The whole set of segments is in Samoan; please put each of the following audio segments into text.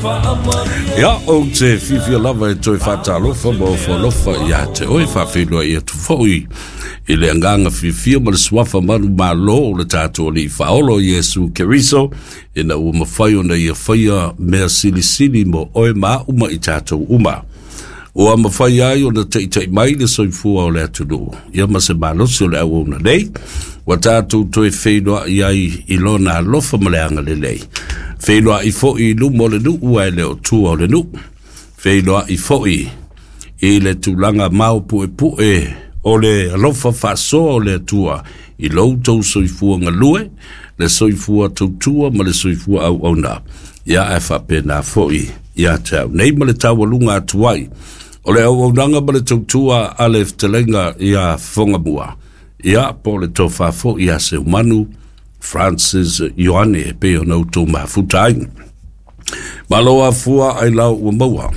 Ia, ou te fiafia lava e toe faatalofa ma ofo alofa ia te oe, faafeiloai atu foi i le agaga fiafia ma le suafa manumalo o le tatou Alii Faaola o Iesu Keriso, ina ua mafai ona ia faia mea silisili mo oe ma au ma i tatou uma. Ua mafai ai ona taita'i mai le soifua o le atunuu, ia ma se malosi o le auauna nei, ua tatou toe feiloa'i ai i lona alofa ma le agalelei. Feiloa'i foi i luma o le nuu ae le o tua o le nuu. Feiloa'i foi i le tulaga maopuepu'e o le alofa faasoa o le Atua i lo outou soifua galue, le soifua tautua ma le soifua auauna. Ia ae faapena foi ia te au nei ma le taualuga atu ai o le auaunaga ma le tautua a le fetalaiga ia Fogamua, ia po o le tofa foi ia Seumanu Francis Ioane e pei ona outou mafuta ai. Malo afua ai lau ua maua.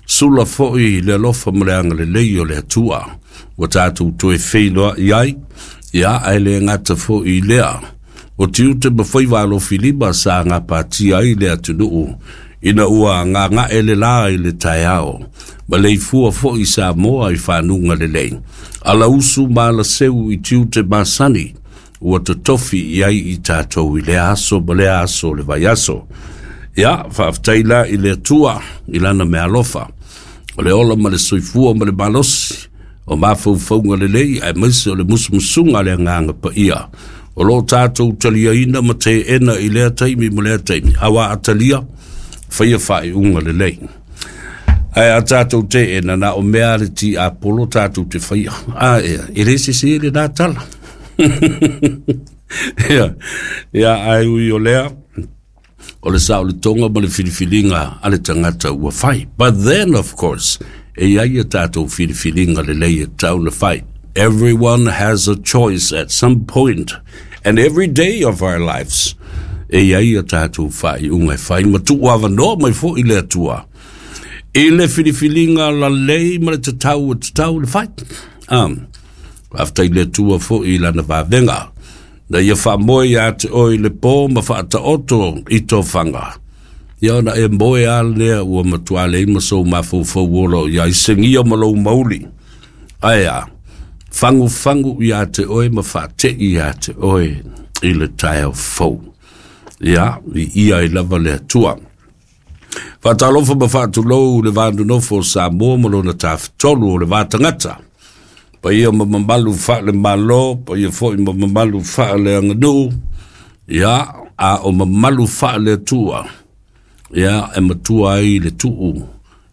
Sula foi le alofa ma le agalelei o le Atua ua tatou toe feiloai ai, ia ae le gata foi i lea. O tiute ma faiva alofilima sa gapatia ai le atunuu ina ua gaga'e le lā i le taeao, ma leifua foi Samoa i fanuga lelei. Alausu ma alaseu i tiute masani ua totofi i ai i tatou i lea aso ma lea aso o le vaiaso. Ia, faafetai la i le Atua i lana meaalofa, o le ola ma le soifua ma le malosi, o mafaufauga lelei aemaise o le musumusuga a le Agaga Paia o lo o tatou taliaina ma teena i lea taimi ma lea taimi, aua a talia, faia faaiuga lelei. Ae a tatou teena, na o mea a le tiapolo tatou te faia. A ea, e le sese lena tala. Ia, ia, ae ui o lea, o le saoletoga ma le filifiliga a le tagata ua fai. But then, of course, e i ai a tatou filifiliga lelei e tatau ona fai. Everyone has a choice at some point and every day of our lives. E i ai a tatou faaiuga e fai ma tuuavanoa mai foi le Atua i le filifiliga lalei ma le tatau e tatau ona fai. Faafetai le Atua foi i lana vavega. Na ia faamoe ia te oe i le pō ma faataoto i tofaga. Ia ona e moe a lea ua matua leai ma sou mafaufau ola o i ai segia ma lou mauli. Ae a, fagufagu ia te oe ma faate'i ia te oe i le taeao fou. Ia, viia ai lava le Atua. Faatalofa ma faatulou le va nonofo o Samoa ma lona tafatolu o le va tagata. Paia ma mamalu faale-Malo, paia foi ma mamalu faale-aganuu, ia, a o mamalu faale-Atua, ia, e matua ai le tuu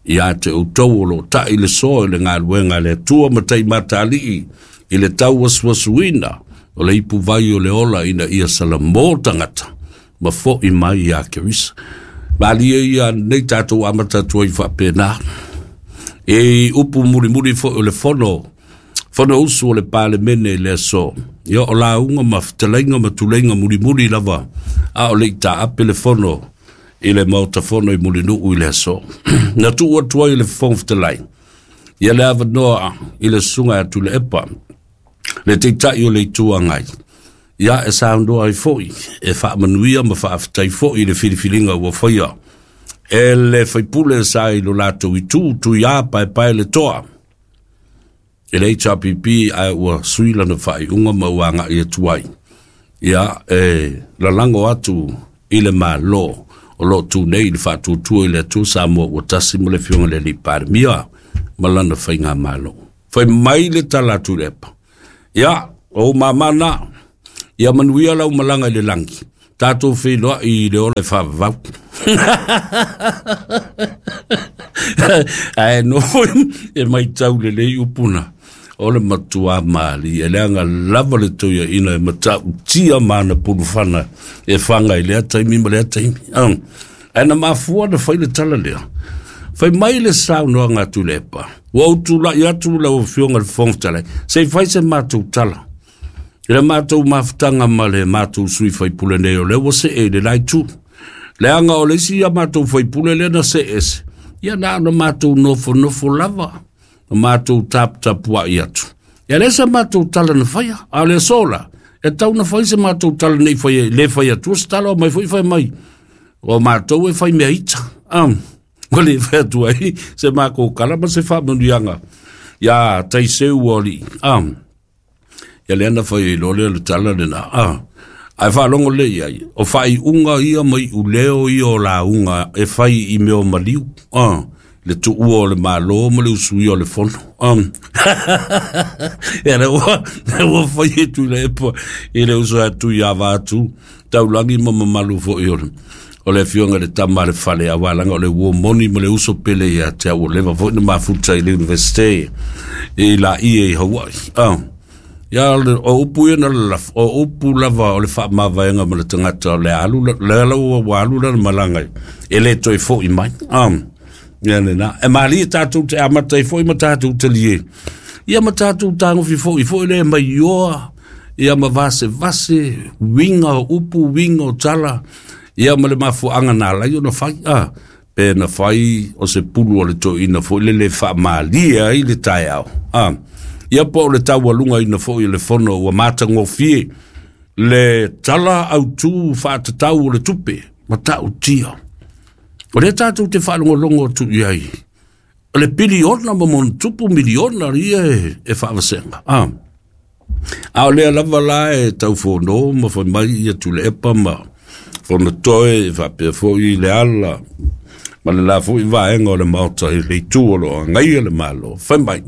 ia te outou o lo o ta'i le soa i le galuega a le Atua ma taimatalii i le tauasuasuina o le ipuvai o le ola ina ia salamo tagata ma fo'i mai iā Keriso. Malie ia nei tatou amata atu ai faapena. E upu mulimuli foi o le fono, fono usu o le Palemene i le aso. Ia o lauga ma fetalaiga ma tuleiga mulimuli lava, a o le i taape le fono i le Maota Fono i Mulinuu i le aso. Na tuu atu ai le Fofoga Fetalai ia le avanoa i le susuga ia Tuilaepa, le Taitai o le Itu Agai, ia e saunoa ai foi, e faamanuia ma faafetai foi i le filifiliga ua faia e le faipule sa i lo latou itu, Tuia Paepae le Toa i le HRPP, ae ua sui lana faaiuga ma ua agai atu ai ia e lalago atu i le Malo o lo o tu nei i le faatuatua i le Atua Samoa ua tasi ma le Afioga i le Alii Palemia ma lana faigamalo. Fai mai le tala a Tuilaepa, Ia, o ou mama na, ia manuia lau malaga i le lagi, tatou feiloai i le ola e faavavau. Ae nofo e matau lelei upu na, o le matua malie, leaga lava le toeaina e matautia ma ana pulufana e faga i lea taimi ma lea taimi. Ae na mafua na fai le tala lea. Fai mai le saunoaga a Tuilaepa, ua ou tulai atu lau Afioga i le Fofoga Fetalai, se i fai se matou tala. I le matou mafutaga ma le matou sui faipule nei o lea ua see i le la itu. Leaga o le isi a matou faipule lea na see ese, ia na ona matou nofonofo lava, na matou taputapuai atu. Ia lea se matou tala na faia, a o le aso la, e tau na fai se matou tala nei fai, le fai atua se tala o mai foi fai mai. O matou e fai mea ita. Ua le fai atu ai se makou tala ma se faamanuiaga iā Taiseu o alii. Ia lea na fai ai loa lea o le tala lena. Ae faalogo lelei i ai, o faaiuga ia ma iuleo ia o lauga e fai i mea o maliu, le tuua o le Malo ma le usuia o le fono. Ia lea ua fai e Tuilaepa i le uso atu ia Vaatu, Taulagi ma mamalu foi o le afioga i le tama a le fale, aua leaga o le uo moni ma le uso pele ia te au, ua leva foi na mafuta i le Universite i Laie i Hawaii. Ia, o upu ia na lalafo, o upu lava o le faamavaega ma le tagata o le alu, le ala ua alu lana malaga e le toe foi mai. Ia lena. E malie tatou te amata ai foi ma tatou talie. Ia ma tatou tagofi foi foi le maioa, ia ma vasevase, uiga o upu, uiga o tala, ia ma le mafuaaga na ala ai ona fai. Pe na fai o se pulu o le toeaina foi lele e faamalie ai le taeao. Ia po o le taualugaina foi o le fono ua matagofie le tala autu faatatau o le tupe ma ta'utia. O lea tatou te faalogologo atu i ai, o le piliona ma montupu miliona ia e faavasega. A o lea lava la e taufono ma fai mai ia Tuilaepa ma Fonotoe faapea foi le ala ma le la foi vaega o le Maota i le itu o lo o agaia le Malo. Fai mai,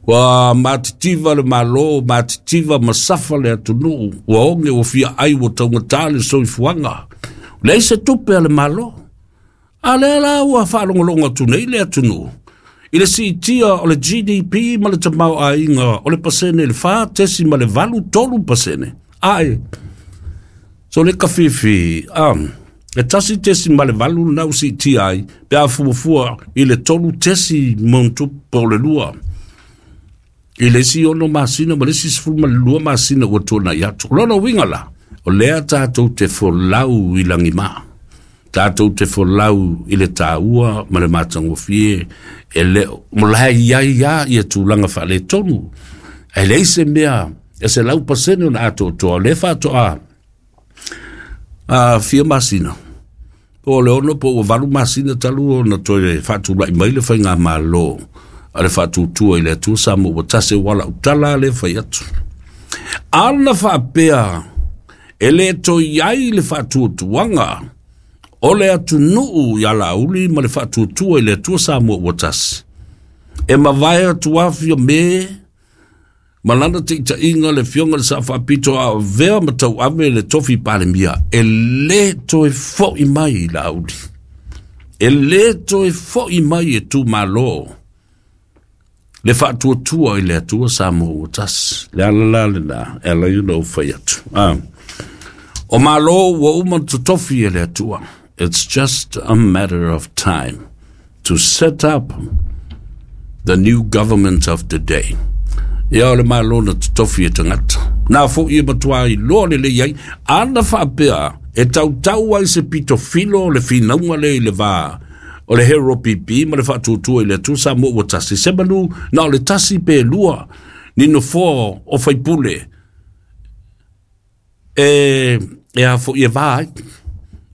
ua matitiva le Malo, matitiva ma safa le atunuu, ua oge, ua fia ai, ua taugata le soifuaga. Leai se tupe a le Malo. A lea la ua faalogologo atu nei le atunuu i le siitia o le GDP ma le tamaoaiga o le pasene le 4.83%. Ae, so le kafifi, e 1.8 lena ua siitia ai, pe a fuafua i le 3.2 i le isi 6 masina ma le isi 12 masina ua tuanai atu. O lona uiga la, o lea tatou te folau i lagima, tatou te folau i le taua ma le matagofie, e le o la e i ai lava ia tulaga faaletonu, ae leai se mea e 100% ona atoatoa. O lea faatoa fia masina, po o le 6 po ua 8 masina talu ona toe faatulai mai le faigamalo a le faatuatua i le Atua Samoa ua tasi, ua lautala le fai atu. Ana faapea e le toe i ai le faatuatuaga o le atunuu ia Laauli ma le faatuatua i le Atua Samoa ua tasi, e mavae atu afia me ma lana taitaiga le afioga i le Sao Faapito a avea ma tauave le tofi Palemia, e le toe foi mai Laauli, e le toe foi mai e tumalo le faatuatua i le Atua Samoa ua tasi. Le ala la lena e ala ai ona ou fai atu. O Malo ua uma totofi e le Atua. It's just a matter of time to set up the new government of the day. Ia o le Malo na totofi e tagata. Na foi e matua iloa lelei ai, ana faapea e tautau ai se pito filo o le finauga lea i le va o le Hero PP ma le faatuatua i le Atua Samoa ua tasi. Se manu na o le tasi pe lua ni nofoa o faipule e a foi e va ai.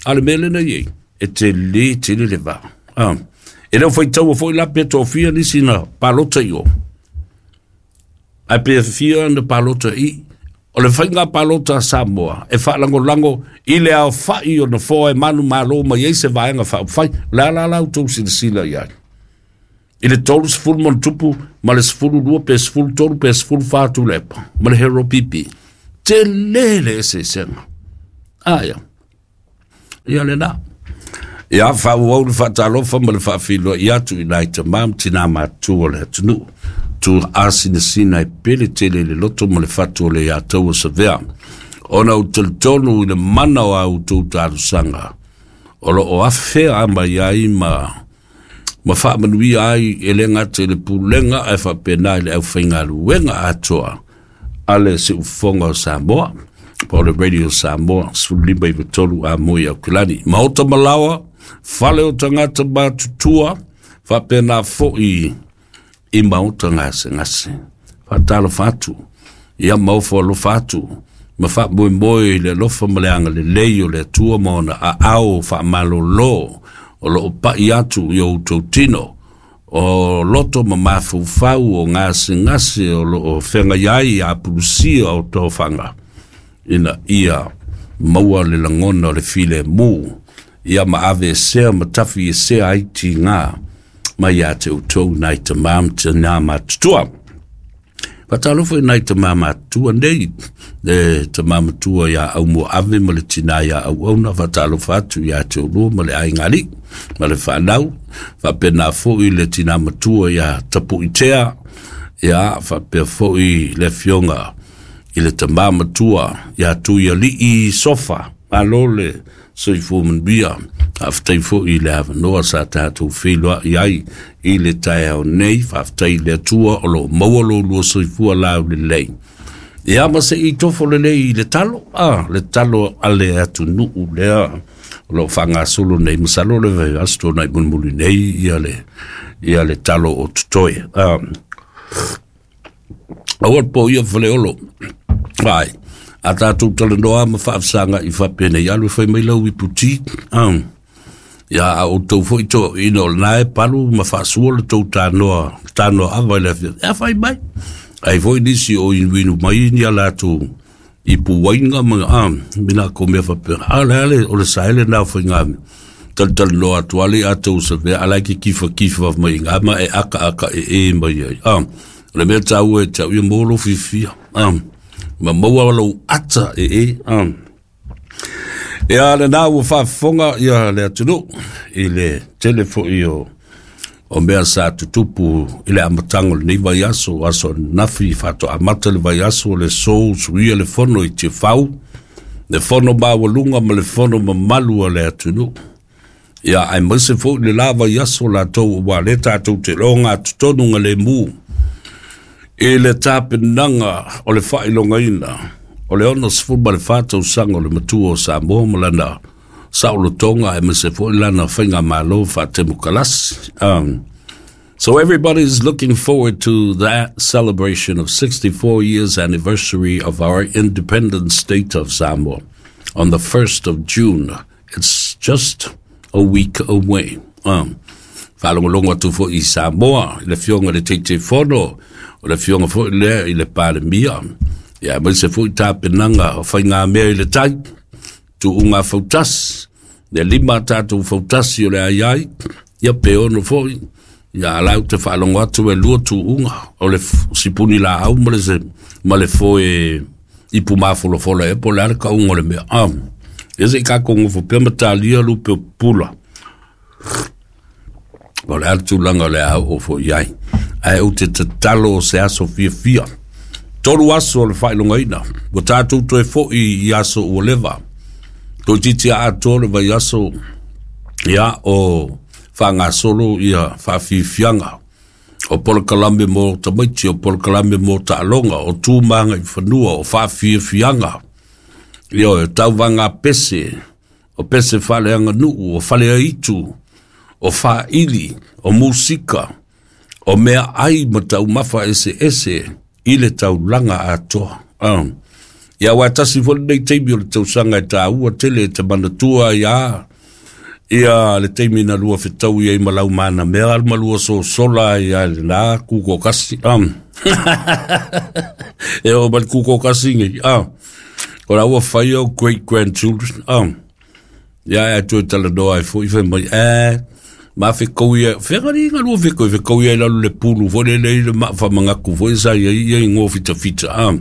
A o le mea lena i ai, e tele tele le va. E le o faitaua foi la pe tofia nisi na palota i o. Ae pe fia na palota i. O le faiga palota a Samoa e faalagolago i le aofai o nofoa e manumalo mai ai se vaega faaupufai. O le a la la outou silasila i ai? I le 30 ma tupu ma le 12 pe 13 pe 14 Tuilaepa ma le Hero PP. Tele le eseesega. Aia. Ia lena. Ia faaauau le faatalofa ma le faafiloai atu i nai tamā ma tinā matutua o le atunuu. Tu asinasina e pele tele i le loto ma le fatu o le iā taua savea. Ona ou talitonu i le mana o a outou talosaga o lo o afea mai ai ma faamanuia ai e le gata i le pulega ae faapena i le aufaigaluega atoa a le Siufofoga o Samoa, po o le Radio Samoa 15 93 a moi Aukilani. Maota malaoa, fale o tagata matutua, faapena foi i maota gasegase. Faatalofa atu, ia maofo alofa atu, Ma faamoemoe i le alofa ma le agalelei o le Atua ma ona aao faamalolo o loo pai atu i outou tino, o loto ma mafaufau o gasegase o loo feagai ai apulusia o tofaga, ina ia maua le lagona o le filemu, ia ma aveesea ma tafiesea ai tiga mai ia te outou nai tamā ma tinā matutua. Faatalofa i nai tamā matutua nei, le tamā matua iā Aumuaave ma le tinā iā Auauna, faatalofa atu iā te oulua ma le aiga alii ma le fanau, faapena foi le tinā matua iā Tapuitea, ia faapea foi le afioga i le tamā matua iā Tuialii Sofa. Malo le soifua manuia. Faafetai foi i le avanoa sa tatou feiloai ai i le taeao nei. Faafetai i le Atua o loo maua lo lua soifua laulelei. Ia ma se i tofo lelei i le talo, le talo a le atunuu lea o loo faagasolo nei, masalo le vaiaso tuanai mulimuli nei ia le talo o totoe. Aua le po ia Faleolo. Ai, a tatou talanoa ma faafesaga'i faapenei, alu e fai mai lau iputi. Ia a outou foi toeaiina o lena e palu ma faasua le tou tanoa, tanoa ava i le afiafi, e fai mai. Ai foi nisi o inuinu mai ni a latou ipu uaina ma mina ko mea faapena. A le ale o le saele na o faiga talatalanoa atu ale a tou savea ala ke kifa kifa mai ngā ma e aka aka e e mai ai. O le mea tāua e tau ia mo lo fiafia. Ma maua lou ata e e. Ia lena ua faafofoga ia le atunuu i le tele foi o mea sa tutupu i le amataga o lenei vaiaso, aso ananafi faatoa amata le vaiaso o le aso usuia le fono i Tiafau, le fono maualuga ma le fono mamalu a le atunuu. Ia aemaise foi le la vaiaso latou ua le tatou te loga totonu ga lemu i le tapenaga o le faailogaina o le 64 tausaga o le matua o Samoa ma lana saolotoga aemaise foi lana faigamalo faatemokalasi. So everybody is looking forward to that celebration of 64 years anniversary of our independent state of Samoa on the 1st of June. It's just a week away. Faalogologo atu foi i Samoa, i le afioga i le Taitaifono, o le afioga foi lea i le Palemia. Ia aemaise foi tapenaga o faigamea i le tai, tuuga fautasi, le 5 tatou fautasi o le ai ai, ia pe 6 foi. Ia alau te faalogo atu e 2 tuuga, o le sipuni laau ma le, se, ma le foe ipu mafolafola e po le ale kauga o le mea. Ia se i kākou gofo pea ma talia lupe o pula. O le ale tulaga o le a oo foi ai. Ae ou te tatalo o se aso fiafia. 3 aso o le faailogaina. Ua tatou toe foi i aso ua leva. Toeitiiti atoa le vaiaso ia o faagasolo ia faafiafiaga. O polokalame mo tamaiti, o polokalame mo taaloga, o tu ma agaifanua, o faafiafiaga. Ia o tauvaga pese, o pese faaleaganuu, o faleaitu, o faaili, o musika, o meaai ma taumafa eseese i le taulaga atoa. Ia aua e tasi foi lenei taimi o le tausaga e taua tele e te manatua ia ia le taimi na lua fetaui ai ma lau manamea ma lua sosola ai ia lena kukokasi. E o ma le kukokasi nei. O la ua fai au great grandchildren. Ia e toe talanoa ai foi fai mai ma fekau ia fegari nga lua fekau fekau ia i lalo le pulu foi le le ma whamangaku foi sa ia ia i ngō fita fita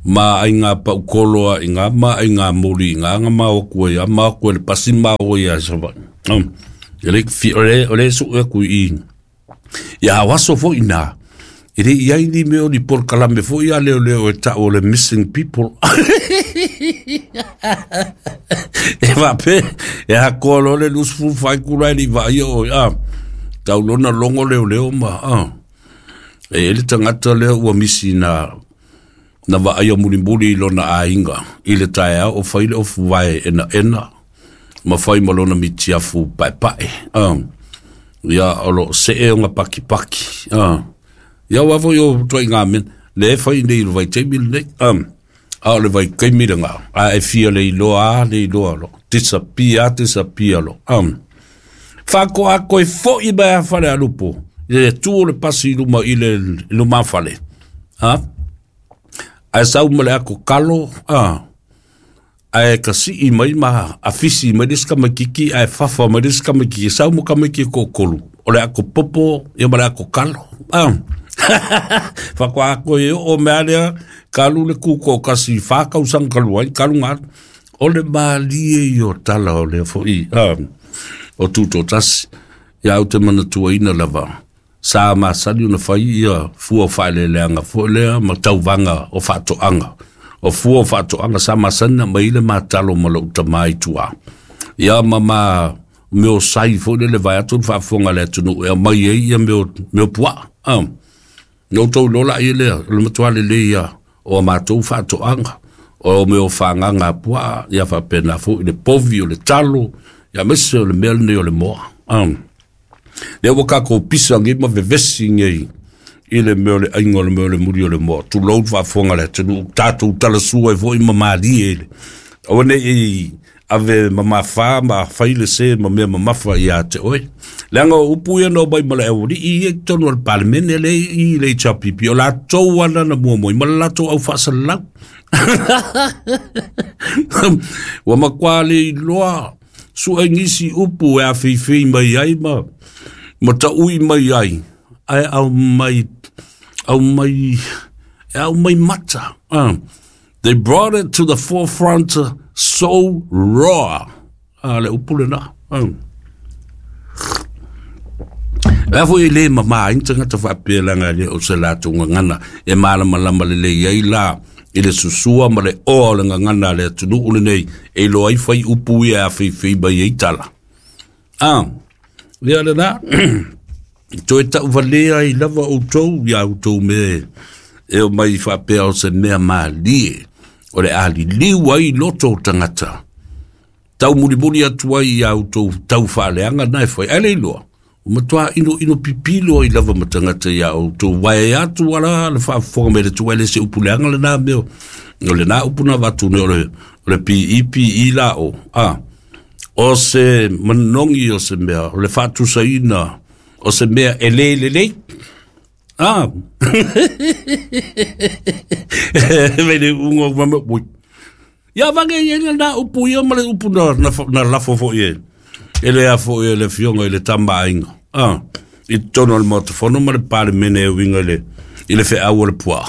ma ai ngā paukolo a i ngā ma ai ngā moli i ngā ngā ma o kua ia ma kua le pasi ma o ia sa va e le fi o le su e ku i ia waso foi na e le iai ni mea o ni polokalame foi a leo leo e tau o le missing people e vape e hakoa lo le 24 kula e li vaia o tau lona longo leo leo ma e le tagata lea ua misi na na vaaia mulimuli i lona aiga i le taeao o fai le ofu vae ena ena ma fai ma lona mitiafu paepae ia o loo see ona pakipaki ia ua foi o tuaiga mea le e fai nei i le vaitaimi lenei. A o le vaitaimi lena, a e fia le iloa a le iloa lo, disappear a disappear lo. Faatoa toe fo'i mai a Falealupo, i le tu o le pasi i luma i le lumafale. Ha? Ae sau ma le ato kalo, ae kasii mai ma afisi mai le isi tamaititi ae fafa mai le isi tamaititi, sau ma tamaiti e toatolu, o le ato popo ia ma le ato kalo. Faatoa toe oo mea lea, talu le tutoatasi i 4 tausaga talu ai, talu na alu. O le malie ia o tala o lea foi o tutoatasi. Ia ou te manatuaina lava, sa masani ona fai ia fua o faaeleeleaga foi lea ma tauvaga o faatoaga. O fua o faatoaga sa masani na aumai ai le matalo ma lou tama i tua. Ia ma mea o sai foi lele vaeatu le faafofoga a le atunuu e aumai ai ia mea o puaa. Na outou iloa laia lea, o le matua lelei ia o a matou faatoaga. O mea o fagaga a puaa, ia faapena foi le povi, o le talo, ia aemaise o le mea lenei o le moa. Lea ua tatou pisa nei ma vevesi nei i le mea o le aiga o le mea o le muri o le moa. Tulou le faafofoga a le atunuu, tatou talasua ai foi ma malie i le. Aua ne i ave mamafa ma fai le se ma mea mamafa ia te oe. Leaga o upu ia na omai ma le aualii ia i totonu o le Palemene lea i le HRPP, o latou lava na muamua ma le latou au faasalalau. Ua matua le iloa sue nisi upu e afeifei mai ai ma taui mai ai, ae aumai, aumai, e aumai mata. They brought it to the forefront so raw. Le upu lena. Lea foi e le mamā ai ni tagata faapea leaga e le o se latou gagana e malamalama lelei ai la i le susua ma le oa o le gagana a le atunuu lenei e iloa ai fai upu ia e afeifei mai ai tala. Ia lena, toe tauvalea ai lava outou ia outou mea e o mai faapea o se mea malie o le aliliu ai loto o tagata. Tau mulimuli atu ai ia outou tau faaleaga na e fai. Ae le iloa, ua matua ino ino pipilo ai lava ma tagata ia outou vae atu ala le faafofoga mai le atu ai le se upu leaga lena mea. O lena upu na avatu nei o le PEPE la o. O se manogi o se mea, o le faatusaina o se mea e le lelei. Me le ungo ma me ui. Ia vage ia na upu ia ma le upu na lafo foi e. E le a foi e le fionga i le tama aiga. I totonu o le Maota Fono ma le Palemene e uiga i le feau o le puaa.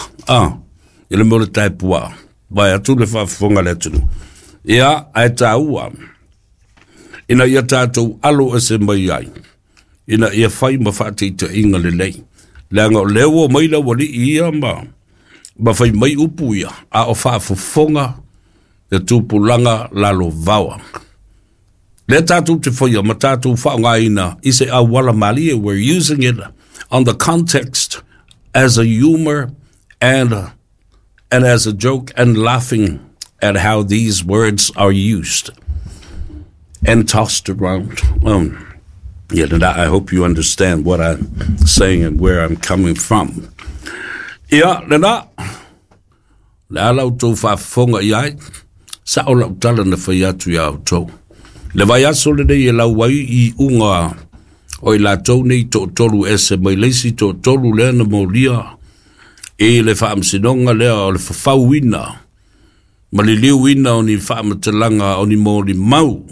I le mea o le tae puaa. Vai atu le faafofoga a le atunuu. Ia, ae tāua, ina ia tatou alo ese mai ai, ina ia fai ma faataitaiga lelei. Leaga o lea ua mai le aualii ia ma fai mai upu ia, a o faafofoga le tupulaga lalovaoa. Lea tatou te faia ma tatou faaaogaina i se auala malie. We're using it on the context as a humor and as a joke and laughing at how these words are used and tossed around. Yeah, and I hope you understand what I'm saying and where I'm coming from. Ia, lena, le ala outou faafofoga i ai, sa o lau tala na fai atu ia outou. Le vaiaso lenei e lau ai i uga o i latou nei toatolu ese mai leisi toatolu lea na molia i le faamasinoga lea o le fafauina ma liliuina o ni faamatalaga o ni molimau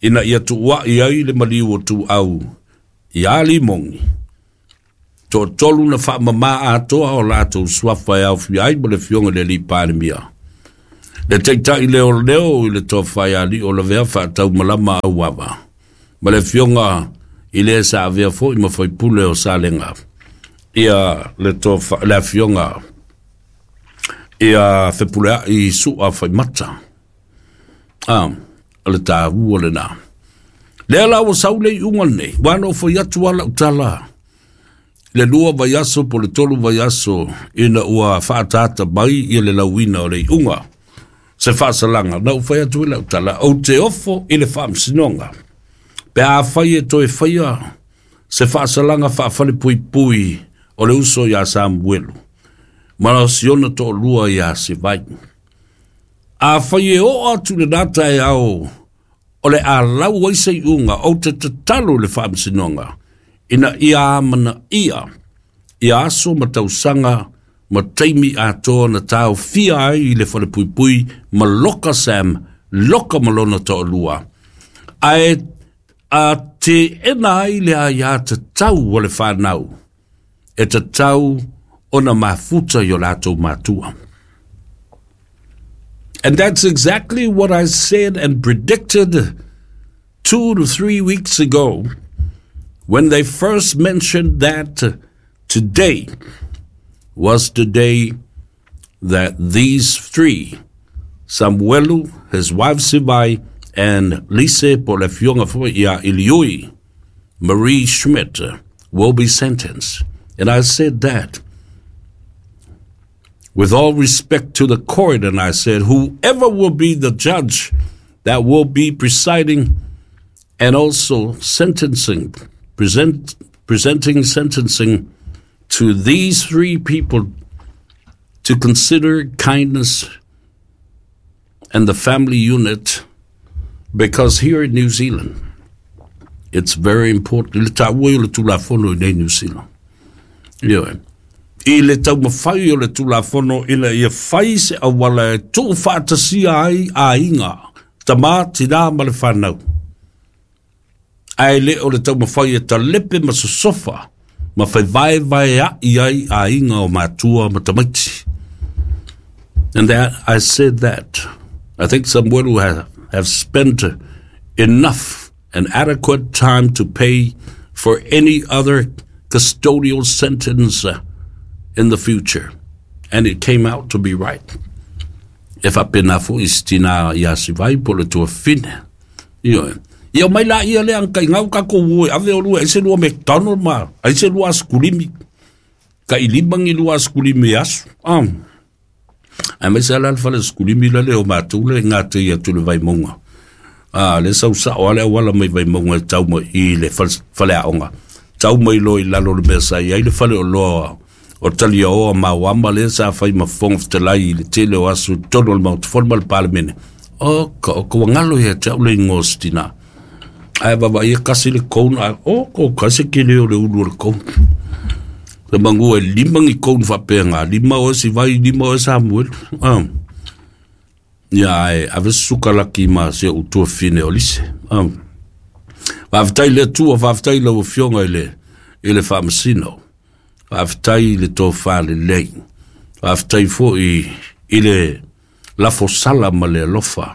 ina ia tuuai ai le maliu o tuau ia Limogi. Toatolu na faamamā atoa o latou suafa e aofia ai ma le afioga i le alii Palemia, le taitai leo leo i le tofa ia Alii Faataumalama Auava, ma le afioga i le sa avea foi ma faipule o Salega, ia le tofa le afioga ia Fepuleai Sua Faimata. O le tāua lena. Lea la ua sau le iuga lenei, ua na ou fai atu lava lau tala le 2 vaiaso po le 3 vaiaso ina ua faataata mai ia le lauina o le iuga. Se faasalaga, na ou fai atu i lau tala, ou te ofo i le faamasinoga. Pe a fai e toe faia se faasalaga faafalepuipui o le uso ia Samuelu, ma o siona toalua ia Sivai. Afai e oo atu lenā taeao o le a lau ai se iuga, ou te tatalo i le Faamasinoga ina ia amanaia ia aso ma tausaga ma taimi atoa na taofia ai i le falepuipui ma loka Sam, loka ma lona toalua, ae a teena ai le aiatatau a le fanau e tatau ona mafuta i o latou matua. And that's exactly what I said and predicted 2 to 3 weeks ago when they first mentioned that today was the day that these three, Samuelu, his wife Sivai, and Lise Polefionga ia Iliui, Marie Schmidt, will be sentenced. And I said that with all respect to the court, and I said, whoever will be the judge that will be presiding and also sentencing, presenting sentencing to these three people to consider kindness and the family unit, because here in New Zealand, it's very important. I le taua o le tulafono i nei New Zealand. Ioe. I le taumafai o le tulafono ina ia fai se auala e tuufaatasia ai aiga, tamā, tinā ma le fanau. Ae le o le taumafai e talepe ma sosofa ma fevaevaea'i ai aiga o matua ma tamaiti. And that I said that. I think Samuel have spent enough and adequate time to pay for any other custodial sentence in the future. And it came out to be right. E faapena fo'i si tinā iā Sivai po o le tuafafine. Ioe. Ia mai la ia le ang kai ngau ka ko ue ave o lua ese lua McDonald ma ai se lua askulimi. Ka ilima ngi lua askulimi asu. Ah. Ai mai sa la le fale askulimi la le o matou le ngā te ia tu le Vaimauga. Ah, le sau sao ale wala mai Vaimauga e tau mai i le fale aoga. Tau mai loa i lalo o le mea sa i ai le fale o loa o Taliaoa ma Wama le sa fai ma Fofoga Fetalai i le tele o aso i totonu o le Maota Fono ma le Palemene. O ka o ka wangalo ia te au le ingoa o se tinā. Ae vavaai e kasi le cone, ae o ko kasi ke le o le ulu o le cone. Le mangua e lima ni cone faapea ngā, lima o e Sivai, lima o e Samuel. Ah. Ia ae ave suka laki ma se o tuafafine o Lise. Ah. Faafetai i le Atua, faafetai i lau Afioga i le, i le Faamasino. Faafetai i le tofa lelei. Faafetai foi i le lafosala ma le alofa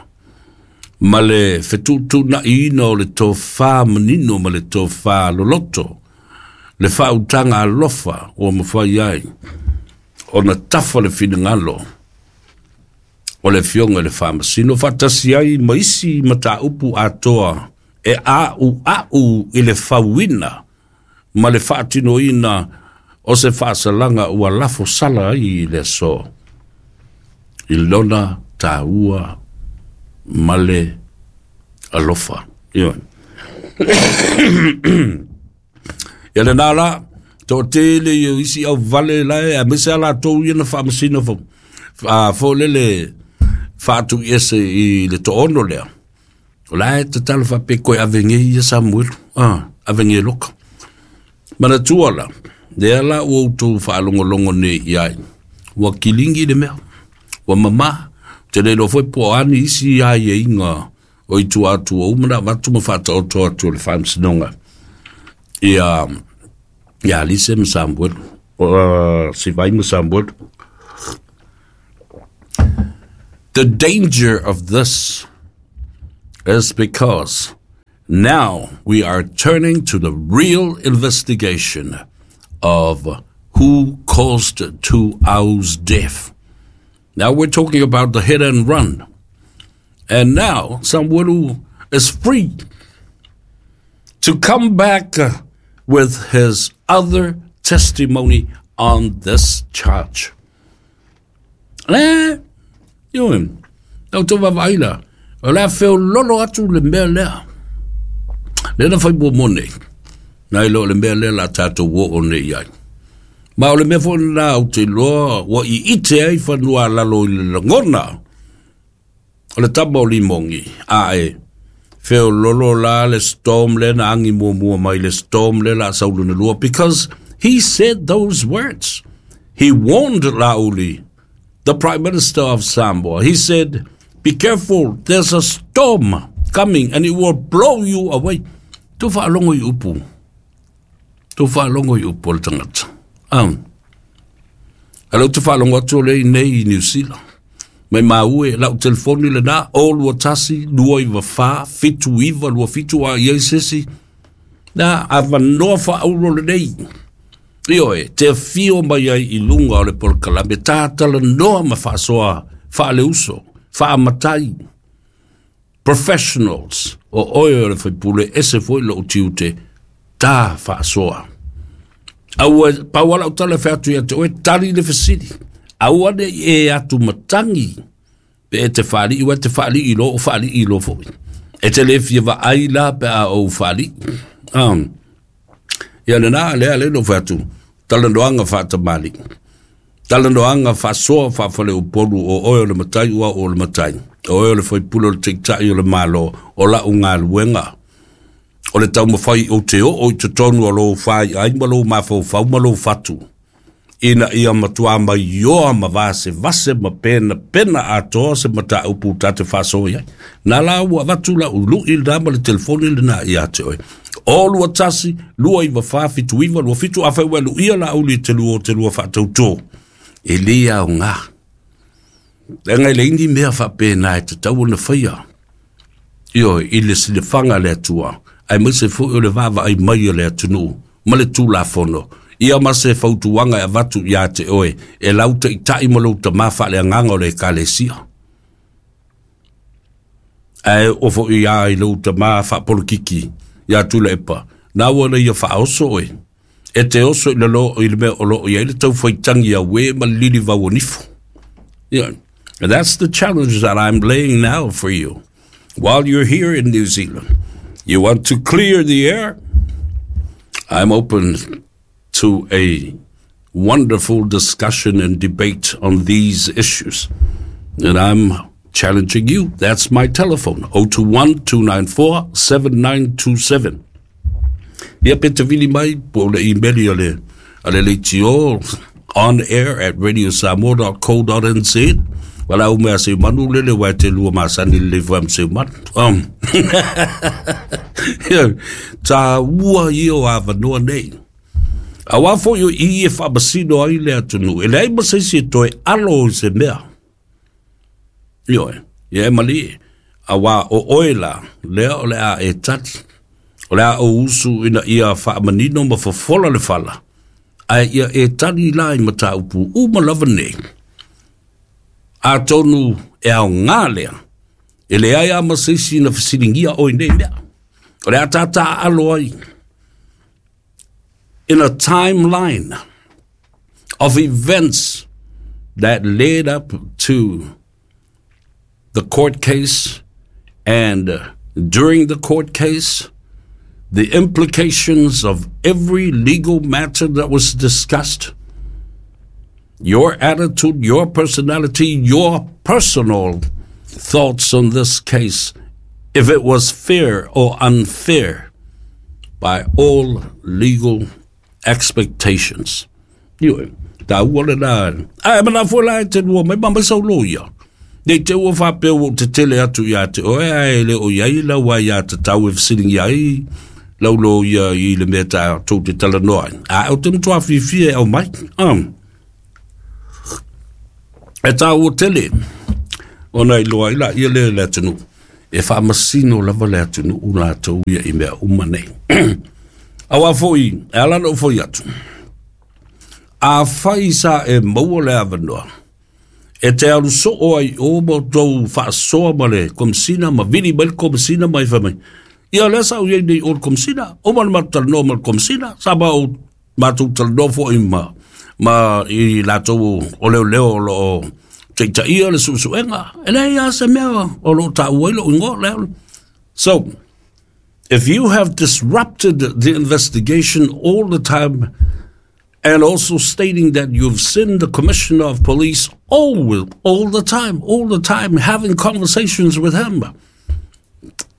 ma le fetuutuunaiina o le tofa manino ma le tofa loloto, le faautaga alofa ua mafai ai ona tafa le finagalo o le Afioga i le Faamasino faatasi ai ma isi mataupu atoa e a'ua'u i le fauina ma le faatinoina o se faasalaga ua lafosala ai i le aso i lona taua ma le alofa. Ioe. Ia lenā la, toatele ia o isi auvale la e, aemaise lava latou ia na faamasino fo, a fo lele faatuiese i le 60 lea. O la e tatalo faapea koe ave nei ia Samuelu, ah, ave nei loka. Manatua la, lea la ua outou faalogologo nei i ai, ua kiligi le mea, ua mamā, ou te le iloa foi po o a ni isi aiaiga o i tua atu ua uma ona avatu ma faataoto atu e le Faamasinoga ia ia Alise ma Samuelu, Sivai ma Samuelu. The danger of this is because now we are turning to the real investigation of who caused Tuau's death. Now we're talking about the hit and run. And now Samuelu is free to come back with his other testimony on this charge. Le, ioe, lau tau vaavaai la, o le a feololo atu le mea lea. Lea na fai muamua nei, nai lo le mea lea la tatou oo nei i ai. Ma o le mea foi lena ou te iloa ua iite ai fanua lalo i le lagona. O le tama o Limogi, ae feololo la le storm le na agi muamua mai le storm le la sau lona lua, because he said those words. He warned Laauli, the Prime Minister of Samoa. He said, be careful, there's a storm coming and it will blow you away. Tu whaalongo i upu. Tu whaalongo i upu o le tangata. A leo te whaalongo atu o le nei i New Zealand. Mai maue lau telefoni le na, o 21, 294, 79, 27 a iai sesi. Na, avanoa whaaulo le nei. Ioe, te fio mai ai i lunga o le polokalame, tātala noa ma whaasoa, whaaleuso, whaamatai, professionals, o oe o le whaipule, ese foi lo utiute, tā whaasoa. Aua, pauala o tala wheatu ia te oe, tali le fesili. Aua ne e atu matangi, pe e te whaali, ua te whaali i lo, o whaali i lo foi. E te le fia wa ai la pe a o whaali. Ia le nā, lea le no wheatu, talanoaga faatamali, talanoaga faasoa faafaleupolu o oe o le matai ua o le matai, o oe o le faipule o le taitai o le malo, o lau galuega o le taumafai ou te oo i totonu o lou faiai ma lou mafaufau ma lou fatu, ina ia matuā maioa ma vasevase ma penapena atoa se mataupu ta te faasoa i ai. Na la ua avatu lau lu'i lenā ma le telefoni lenā iā te oe. O 21, 294, 79, 27, afai ua e lu'ia laauli i te lua o te lua faatautō, e lē aogā. Leaga e leai ni mea faapena e tatau ona faia. Ioe, i le silafaga a le Atua, aemaise foi o le vaavaai mai a le atunuu ma le Tulafono, ia ma se fautuaga e avatu iā te oe e lau taitai ma lou tamā faaleagaga o le Ekalesia. Ae oo foi iā i lou tamā faapolokiki iā Tuilaepa, na ua na ia faaoso oe, e te oso i lalo i le mea o lo o i ai le taufaitagi auē ma le lilivau o nifo. Yeah. And that's the challenge that I'm laying now for you. While you're here in New Zealand, you want to clear the air? I'm open to a wonderful discussion and debate on these issues. And I'm challenging you. That's my telephone, 021 294 7927. Ia pe te vili mai po o le email a le, a le leitio on air at radiosamoa.co.nz. Wala u mea se manu lele wa te lua masani le fam se manu. Ia, tā ua ia o avanoa nei. Auā foi o i e faamasino ai le atunuu, e leai ma se isi e toe alo i se mea. Ioe, ia e malie, auā o oe la, lea o le a e tali, o le a ou usu ina ia faamanino ma fofola le fala, ae ia e tali la i mataupu uma lava nei. Atonu e aoga lea, e leai lava ma se isi na fesiligia oe i nei mea. O le a tātaaalo ai in a timeline of events that led up to the court case and during the court case, the implications of every legal matter that was discussed, your attitude, your personality, your personal thoughts on this case, if it was fair or unfair by all legal expectations. Ioe, tāua le nā, ai, mana foi la e te lua mai, ma mai sau loia. Nei te ua whapea ua te tele atu ia te oe, ai le o iai lau ai ia te tau e whasilingi ai, lau lo ia i le mea tā tō te tala noa. A o te mtua whiwhia e au mai. E tāua tele, ona i loa i la ia le le atunuu. E faamasino lava le atunuu latou ia i mea uma nei. Auā foi, e ala ona ou foi atu, afai sa e maua le avanoa, e te alu soo ai i o ma outou faasoa ma le Komesina ma vili mai le Komesina ma e fai mai, ia lea sa ou i ai nei i o le Komesina, uma le matou talanoa ma le Komesina, sa ma ou matou talanoa foi ma, ma i latou o leoleo o lo o taitaia le suesuega, e leai lava se mea o lo o taua ai lou igoa lea. So, if you have disrupted the investigation all the time And also stating that you've seen the commissioner of police all, all the time, all the time, having conversations with him.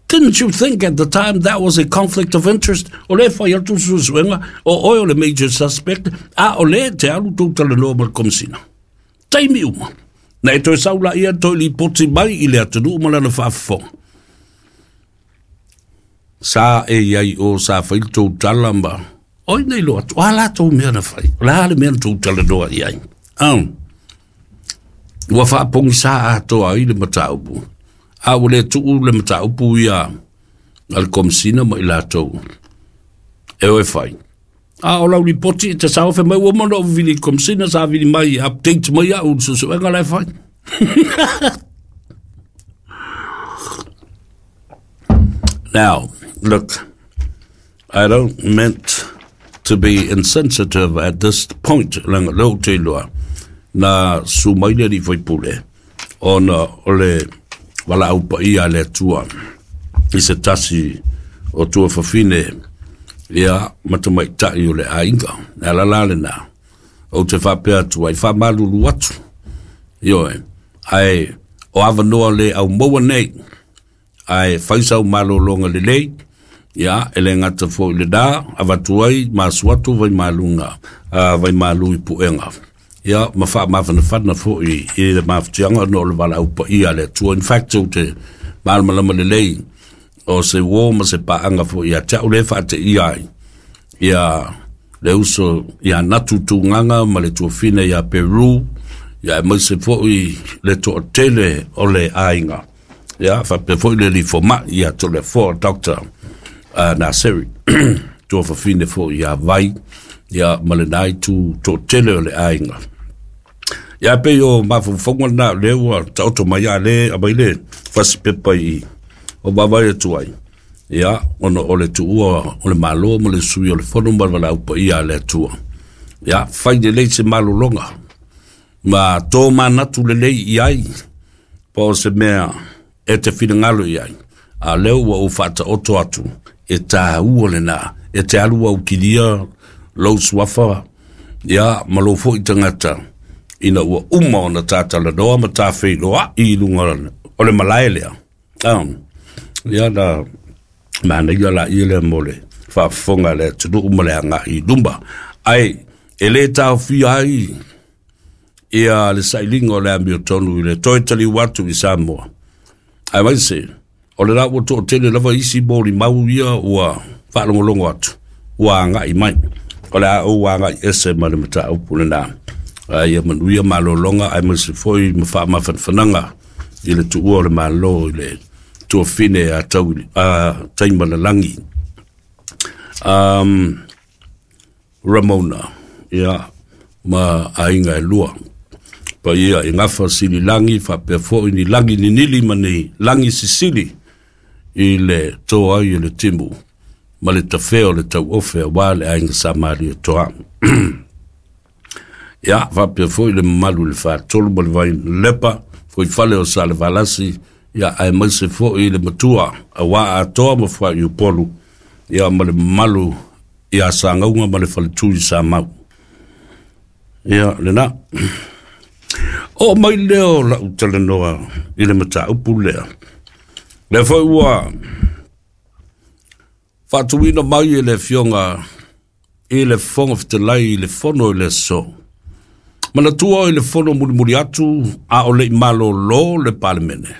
Didn't you think at the time that was a conflict of interest? O le fai atu suesuega, o oe o le major suspect, a o le te alu tou talanoa ma le komisina. Taimi uma. Na e toe sau laia toe lipoti mai i le atunuu ma lana faafofoga. Sa e i ai o sa fai le tou tala ma oi nei loa atu. O a latou mea na fai? O le a le mea na tou talanoa i ai? Ua faapogisa atoa ai le mataupu. A ua le tuu le mataupu ia a le komisina ma i latou e o e fai. A o lau lipoti e te sao fai mai ua uma ona ou vili i le komisina sa vili mai e update mai au i le suesuega la e fai. Now, look, I don't meant to be insensitive at this point, leaga lea ou te iloa, na su mai le alii faipule, ona o le valaau paia a le Atua i se tasi o tuafafine ia ma tamaitai o le aiga. E ala la lena, ou te faapea atu ai, faamalulu atu, ioe, ae o avanoa le au maua nei, ae fai sau malologa lelei, ia, e le gata foi i lena, avatu ai ma asu atu vaimaluga, vaimalu i puega. Ia, ma faamafanafana foi i le mafatiaga ona o le valaau paia a le Atua. In fact, ou te malamalama lelei o se uo ma se paaga foi ia te au lea e faateia ai ia le uso ia Natu Tugaga ma le tuafine ia Peru, ia aemaise foi le toatele o le aiga. Ia, faapea foi le alii fomai ia Toleafoa Doctor Naseri, tuafafine foi ia Vai, ia ma lena itu toatele o le aiga. Ia pei o mafaufauga lena o lea ua taoto mai a le aumai le fasipepa i o vaavaai atu ai. Ia, ona o le tuua o le Malo ma le sui o le Fono ma le valaau paia a le Atua. Ia, fai lelei se malologa ma tō manatu lelei i ai po o se mea e te finagalo i ai. A lea ua ou faataoto atu, e tāua lena, e te alu au kilia lou suafa, ia, ma lou foi tagata, ina ua uma ona tā talanoa ma tā feiloai i luga o le malae lea. Ia, na manaia laia lea mo le faafofoga a le atunuu ma le agai i luma. Ae e le taofia ai ia le sailiga o le amiotonu i le toe taliu atu i Samoa. Aemaise, o le la ua toatele lava isi molimau ia ua faalogologo atu, ua agai mai. O le a ou agai ese ma le mataupu lena. Ae ia manuia malologa aemaise foi ma faamafanafanaga i le tuua o le Malo i le tuafine a tau a Taimalalagi. Ramona, ia, ma aiga e lua. Paia i gafa sililangi faapea foi ni lagi ninili ma ni lagi sisili i le tō ai o le timu ma le tafea o le tauofe aua le aiga Sa Maria Toa. Ia, faapea foi le mamalu i le Fatolu ma le Vailepa, foi fale o Salevalasi, ia, aemaise foi le matua aua Atoa ma Fuaiupolu, ia, ma le mamalu ia Sagauga ma le faletui i Samau. Ia, lena. Oo mai lea o lau talanoa i le mataupu lea. Lea foi ua faatuina mai e le Afioga i le Fofoga Fetalai i le fono i le aso. Manatua i le fono mulimuli atu a o le i malolo le Palemene.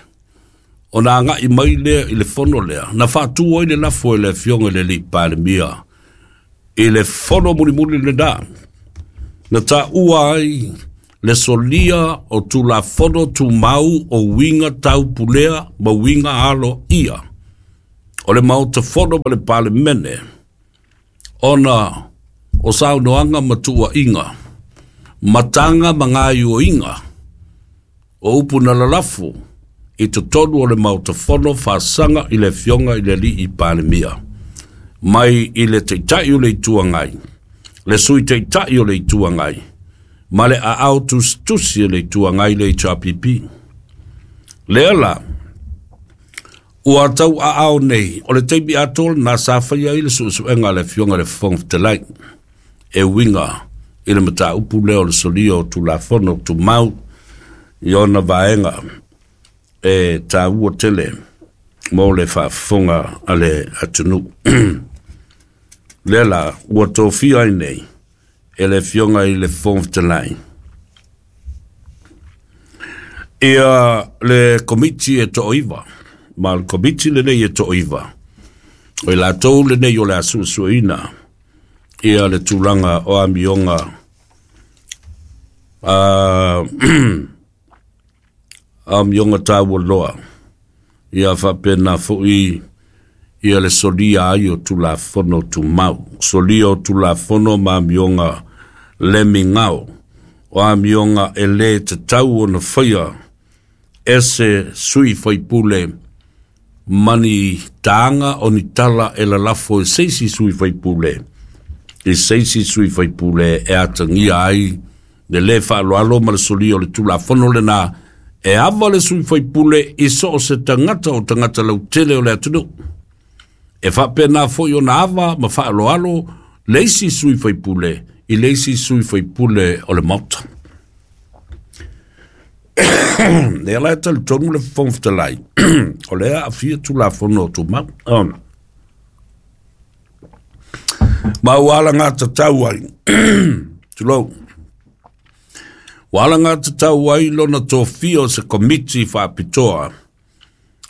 Ona agai mai lea i le fono lea, na faatu ai le lafo e le Afioga i le Alii Palemia i le fono mulimuli lena, na taua ai le solia o Tulafono Tumau o uiga taupulea ma uiga aloaia o le Maota Fono ma le Palemene, ona o saunoaga ma tuuaiga, mataga ma gaioiga o upu na lalafo i totonu o le Maota Fono faasaga i le Afioga i le Alii Palemia, mai i le Taitai o le Itu Agai, le Sui Taitai o le Itu Agai, ma le aao tusitusi o le Itu Agai le HRPP. Lea la, ua tau aao nei, o le taimi atoa lena sa faia ai le suesuega a le Afioga i le Fofoga Fetalai, e uiga i le mataupu lea o le solia o Tulafono Tumau i ona vaega e taua tele mo le faafofoga a le atunuu. Lea la ua tofia ai nei e le Afioga i le Fofoga Fetalai ia le Komiti e toaiva, ma o le Komiti lenei e toaiva, o i latou lenei o le a suesueina ia le tulaga o amioga amioga taua loa, ia faapena foi ia le solia ai o Tulafono Tumau, solia o Tulafono ma amioga le migao, o amioga e lē tatau ona faia e se sui faipule ma ni taga o ni tala e lalafo e se isi sui faipule i se isi sui faipule e atagia ai le lē faaaloalo ma le solia o le Tulafono lena e ava le sui faipule i so o se tagata o tagata lautele o le atunuu. E faapena foi ona ava ma faaaloalo le isi sui faipule i le isi sui faipule o le Maota. Lea la e talitonu le Fofoga Fetalai, o lea aafia Tulafono Tumau. Ma ua alagatatau ai, tulou, ua alagatatau ai lona tofia o se Komiti Faapitoa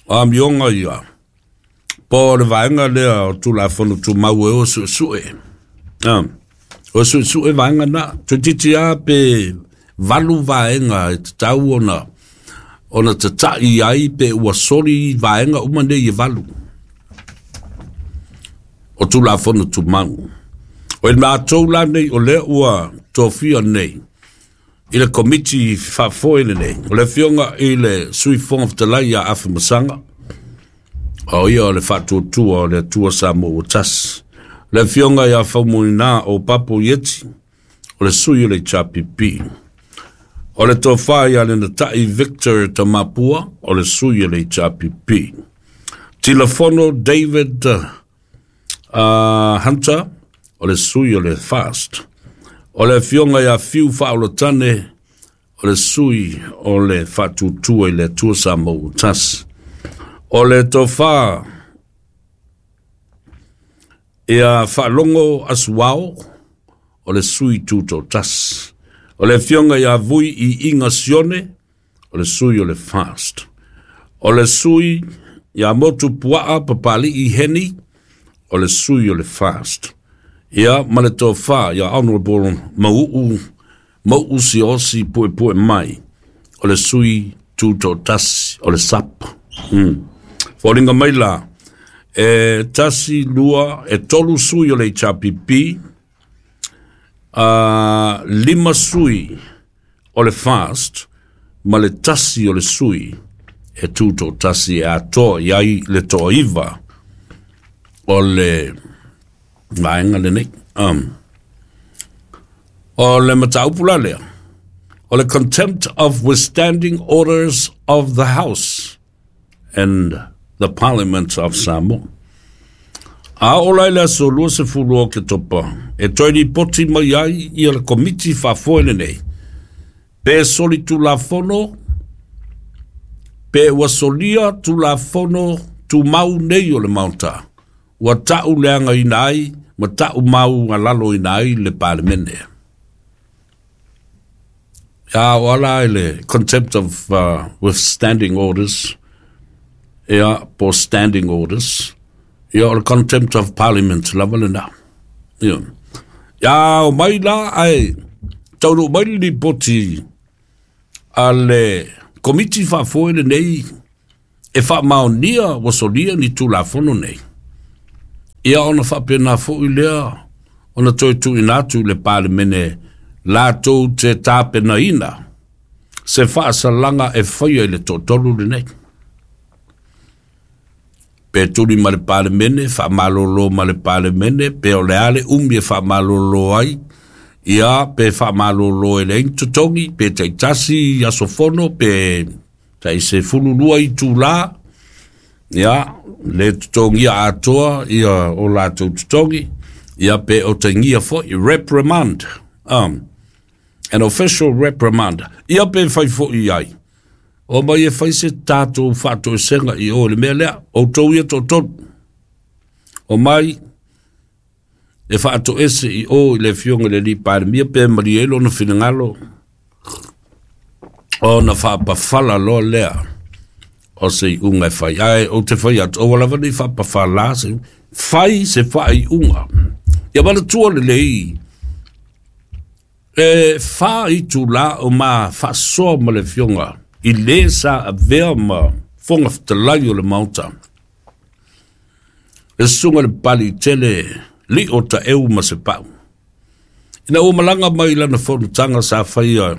o amioga ia, po o le vaega lea o Tulafono Tumau e o suesue. O suesue vaega na, toeitiiti lava pe 8 vaega e tatau ona tatai ai pe ua soli vaega uma nei e 8 o Tulafono Tumau. O i matou la nei o lea ua tofia nei i le Komiti Faafoe lenei, o le Afioga i le Sui Fofoga Fetalai ia Afamasaga, o ia o le faatuatua o le Atua Samoa ua tasi. Le Afioga ia Faumuina o Papo Ieti, o le sui o le HRPP. O le tofa ia Lenatai Victor Tamapua, o le sui o le HRPP. Tilafono David Hunter, o le sui o le FAST. O le Afioga ia Fiu Faaolotane, o le sui o le faatuatua i le Atua Samoa ua tasi. O le tofa ia Faalogo Asuao, o le sui tutoatasi. O le Afioga ia Vui i Iga Sione, o le sui o le FAST. O le sui ia Motu Puaa Papali'i Heni, o le sui o le FAST. Ia ma le tofa ia Honorable Mau'u Mau'u Siaosi Puepue Mai, o le sui tutoatasi o le SAP. Foliga mai la, e 1, 2, e 3 sui o le HRPP, 5 sui o le FAST, ma le 1 o le sui e tutoatasi e atoa i ai le toaiva o le vaega lenei. O le mataupu la lea, o le contempt of withstanding orders of the House and the Parliament of Samoa. A oo la i le aso 20 o Oketopa, e toe lipoti mai ai ia le Komiti Faafoe lenei, pe soli Tulafono, pe ua solia Tulafono Tumau nei o le Maota, ua ta'u leagaina ai ma ta'u maualaloina ai le Palemene. Ia o ala i le contempt of withstanding orders, ia po standing orders, ia o le contempt of parliament lava lena. Ia, ia o mai la ai taunuu mai le lipoti a le Komiti Faafoe lenei e faamaonia ua solia ni Tulafono nei. Ia ona faapena foi lea ona toe tuuina atu i le Palemene latou te tapenaina se faasalaga e faia i le toatolu lenei. Pe tuli ma le Palemene, faamalolo ma le Palemene, pe o le a le umi e faamalolo ai, ia pe faamalolo e leai ni totogi, pe taitasi aso fono, pe tai 12 itulā, ia le totogia atoa ia o latou totogi, ia pe otagia foi, reprimand. An official reprimand. Ia pe fai fo'i i ai. O mai e fai se tatou faatoesega i o i le mea lea. Outou ia toatolu. O mai e faatoese i o i le afioga i le alii Palemia pe malie ai lona finagalo ona faapafala loa lea o se iuga e fai. Ae ou te fai atu, aua lava ne i faapafala se fai se faaiuga. Ia manatua lelei, e 4 itulā o ma faasoa ma le afioga i le sa avea ma Fofoga Fetalai o le Maota, le susuga i le Papalii Tele Lio Taeu ma Sepau. Ina ua malaga mai lana fonotaga sa faia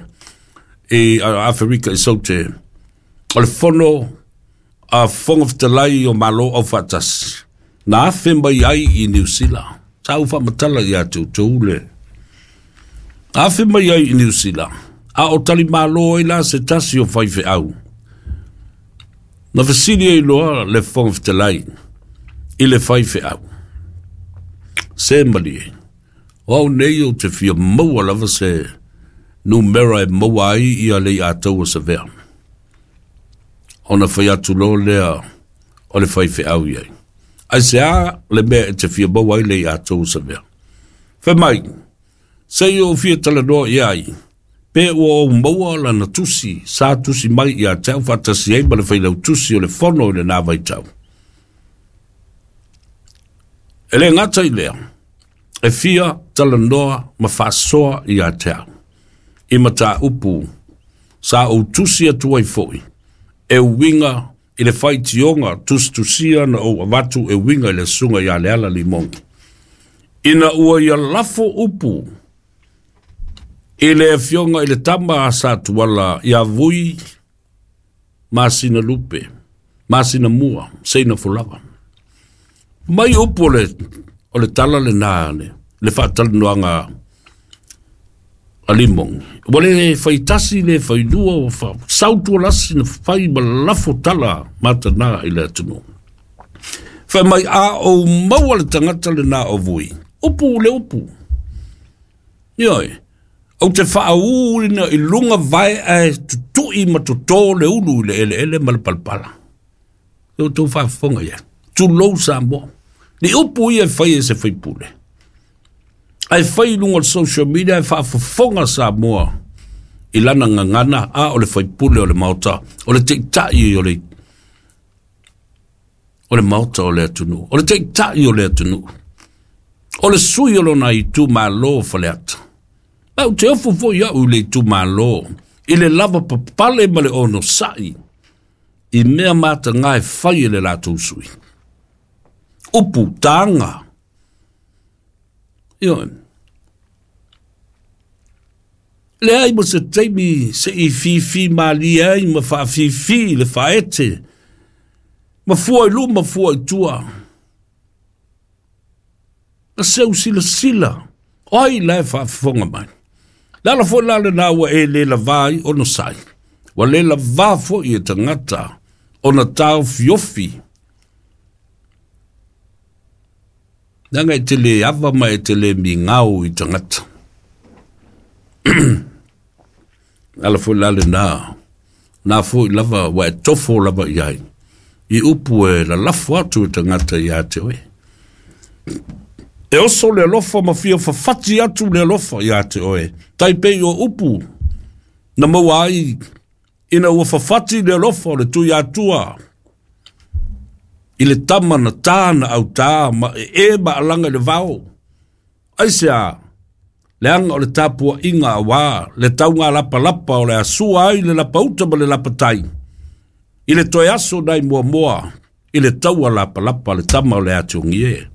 i Aferika i Saute, o le fono a Fofoga Fetalai o Malo Aufaatasi, na afe mai ai i Niu Sila. Sa ou faamatala ia te outou le afe mai ai i Niu Sila, a o talimalo ai la se tasi o faifeau. Na fesili ai loa le Fofoga Fetalai i le faifeau, se malie, o au nei ou te fia maua lava se numera e maua ai ia Leiataua Savea. Ona fai atu loa lea o le faifeau i ai. Aisea le mea e te fia maua ai Leiataua Savea? Fai mai, se i ou fia talanoa i ai, pe ua ou maua lana tusi sa tusi mai ia te au faatasi ai ma le failautusi o le fono i lena vaitau. E le gata i lea, e fia talanoa ma faasoa ia te au i mataupu sa ou tusi atu ai foi e uiga i le faitioga tusitusia na ou avatu e uiga i le susuga ia Leala Limogi. Ina ua ia lafo upu i le afioga i le tama a Satuala ia Vui masina lupe, masina mua, seina folaga. Mai upu o le tala lena le faatalanoaga a Limogi. Ua le faitasi le failua, ua sau tualasi na fai ma lafo tala matana i le atunuu. Fai mai a ou maua le tagata lena o Vui, upu le upu. Ioe, ou te faaūina i luga vae ae tutui ma totō le ulu i le eleele ma le palapala. E outou faafofoga i ai. Tulou Samoa. Ni upu ia e fai e se faipule. Ae fai i luga o le social media e faafofoga Samoa i lana gagana a o le faipule o le Maota, o le taitai o le Maota o le atunuu, o le taitai o le atunuu, o le sui o lona itumalo o Faleata. Ma ou te ofo foi au i le itumalo, i le lava papale ma le onosai, i mea mataga e fai e le latou sui. Upu, taga. Ioe. Leai ma se taimi se i fifi malie ai ma faafifi le faaete, ma fua i luma fua i tua. Na seu silasila, o ai la e faafofoga mai. Le ala foi la lena ua e le lavā ai onosai. Ua le lavā foi e tagata ona taofiofi. Leaga e te le ava ma e te le migao i tagata. Ala foi la lena, na foi lava ua e tofo lava i ai. I upu e lalafo atu e tagata ia te oe. E oso le alofa ma fia fafati atu le alofa ia te oe. Tai pei o upu na maua ai ina ua fafati le alofa o le Tuiatua i le tama na tā na autā ma e ma alaga i le vao. Aisea, leaga o le tapuaiga auā le tauga lapalapa o le asua ai le lapauta ma le lapatai i le toe aso nai muamua i le taua lapalapa le tama o le atugi e.